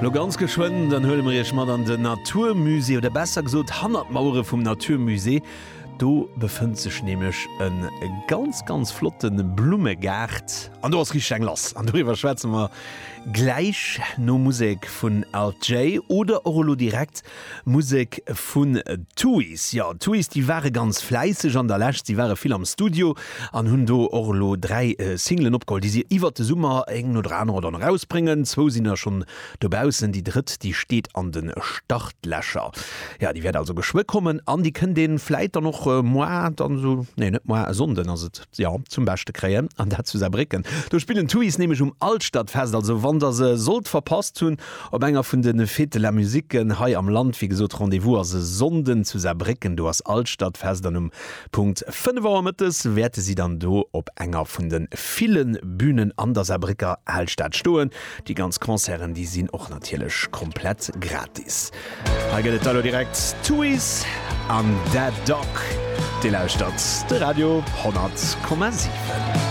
Lo ganz geschwënn, dann huele mer iech mat an den Naturmusée, oder besser gesot hannert d'Mauere vum Naturmusée. Do befënnt sech nämlech e ganz, ganz flotte Blummegaart an do ass richteg eng lass. An doriwwer schwätze mer gläich no Musek vun Alt J oder och elo direkt Musek vun Tuys. Jo, Tuys, déi ware ganz fläisseg an der Lescht. Si ware vill am Studio an hunn do och elo 3 Singlen opgeholl, déi si iwwert de Summer eng no der anerer dann erausbréngen. Zwou sinn der schonn dobaussen, déi drëtt, déi steet an de Startlächer. Jo, déi wäert also geschwë kommen an déi kënnt ee vläit dann och moar dann esou, nee net moar, e Sonnden ass et, jo, zum Beschte kréien an dat zu Saarbrécken. Do spillen d'Tuys nämlech um Alstadfest. Also wann der se sollt verpasst hunn, Op enger vun de Fêtes de la Musiquen hei am Land, wéi gesot, Rendez-vous ass e Sonnden zu Saarbrécken, do ass Alstadfest an um Punkt 5 Auer mëttes wäerte si dann do op enger vun de ville Bünen an der Saarbrécker Alstad stoen. Déi ganz Concerten, déi sinn och natierlech komplett gratis. Hei gëtt et da lo direkt Tuys an Dead Dog. Dir lauschtert de Radio 100,7.